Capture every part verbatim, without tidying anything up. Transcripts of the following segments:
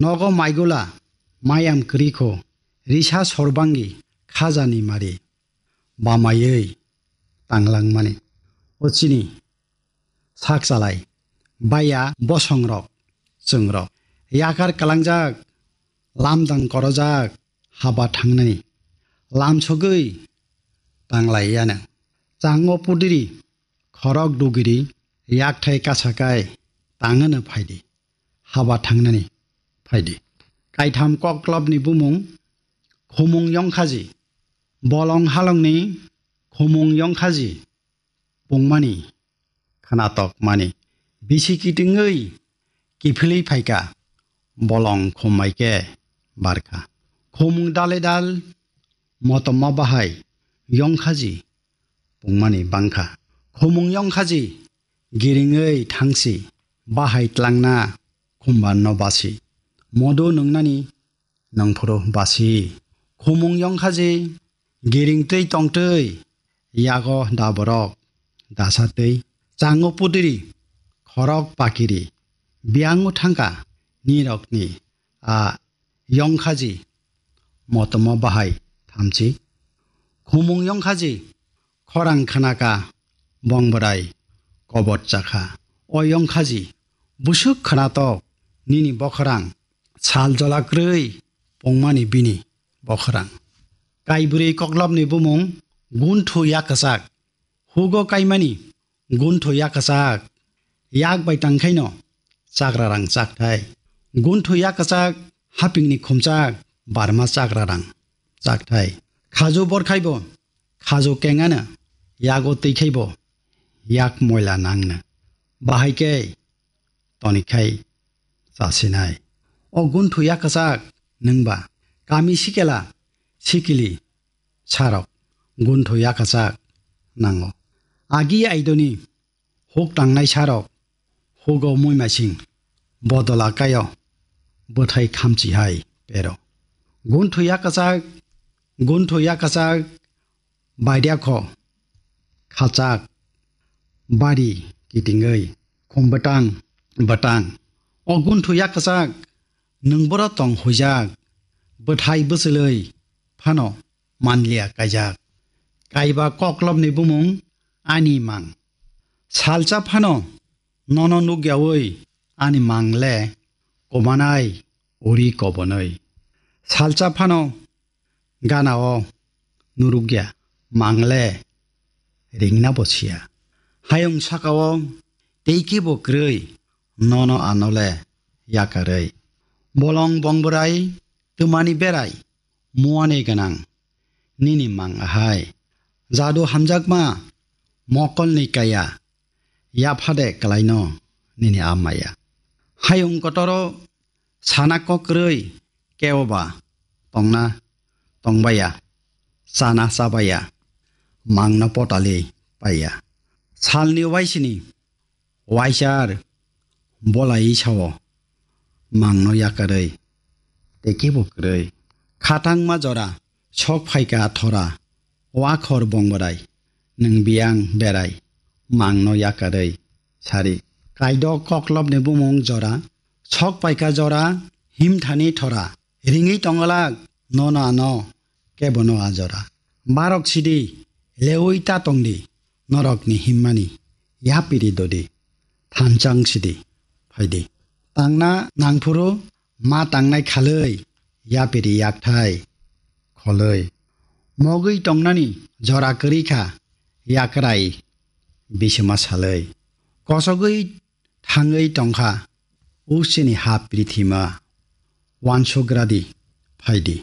Nogo maigula, mayam kwrwikho, risa sorbangi, khajani mari, bamaiwi tanglangmani. O chini sak chalai, baya bosongrok, chwngrok, yakar kalangjak, lamdang korojak, haba thangnani, lamsogwi tanglaiyano. Chango pudiri, khorok dugiri, yakthai kasakai, tangano phaidi, haba thangnani phaidi. Kaitham koklopni bumung, khumung yongkhaji, bolong halongni khumung yongkhaji, pungmani khwnatok mani. Bisi kitingwi kiphilwi phaikha, bolong khumbai khe barkha. Khumung dale dal motomma bahai yongkhaji pungmani bangkha. Khumung yongkhaji giringwi thangsi, bahai tlangna khumbanno basi. Modo nwngnani nangphuru basi. Khumung yongkhaji, giring twi tongtwi, yago daborok dasa twi, chango pudiri, khorok pakiri, biyango thangkha nirokni a yongkhaji, motomo bahai thamchi. Khumung yongkhaji, khorang khnakha, bong bwrai kobot chakha. O yongkhaji, busuk khwnatok nini bokhorang, sal jola kwrwi pungmani bini bokhorang. Kaibrwi koklopni bumung gunthu yakwchak, hugo kaimani gunthu yakwchak, yak bai tangkhaino chakrarang chakthai. Gunthu yakwchak hapingni khumchak barma chakrarang chakthai. Khaju borkhaibo, khaju kengano, yago twikhaibo, yak moila nangno. Bahai khe tonikhai chasinai. O gunthu yakwchak nwngba kami sikela sikili sarok gunthu yakwchak nango. Agi aidoni huk tangnai sarok hugo muimasing bodola kaio bwthai khamchi hai pero. Gunthu yakwchak, gunthu yakwchak, bairiakho khachak, bari kitingwi khum bwtang bwtang. O gunthu yakwchak nwng boro tong huijak, bwthai bwchwlwi phano manliya kaijak. Kaiba koklopni bumung ani mang. Salsa phano nono nukyawi ani mang le kobanai uri kobonwi. Salsa phano ganao nurukya mang le ringna bo siya. Hayung sakao tei kebo kwrwi nono ano le yakarwi. Bolong bong bwrai twmani berai muani gwnang nini mang ahai. Jadu hamjakma mokolni kaya yaphade kwlaino nini a maya. Hayung kotoro sana kokrwi keoba tongna tongbaya, chana chabaya, mangno potali paiya. Salni waisini waisar bolai sao mangno yakarwi tei kebo kwrwi. Khatangma jora sok phaikha thora, wakhor bongborai, nwng biyang berai, mangno yakarwi sari. Kaidok koklopni bumung jora, sok paikha jora, himthani thora, ringwi tongolak nono ano kebono a jora. Barok sidi, lewi ta tongdi, norokni himmani yapiri dodi, thanchang sidi, phaidi. Tangna nangphuru ma tangnai khalwi, yapiri yakthai kholwi. Mogwi tongnani jora kwrwi kha, yakrai bisima salwi. Kosogwi thangwi tongkha, o chini ha prithima, uansugradi phaidi.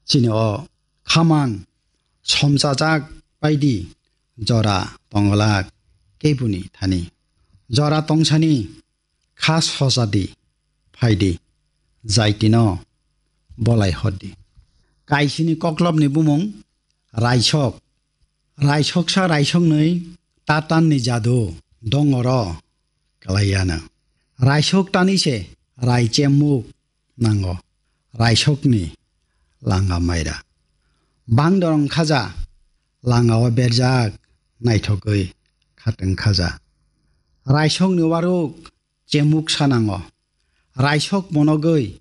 Chini o khamang somchajak paidi jora tongolak kebuni thani. Jora tongsani kha sojadi phaidi, jaitino bolai hordi. Kaisini koklopni bumung Raisok. Raisoksa raisoknwi tatanni jadu dongoro kwlaiyano. Raisok tani se rai chemuk nango. Raisokni langa maira. Bangdorong khaja, langao berjak naithogwi khatwng khaja. Raisokni waruk chemuk sanango. Raisok monogwi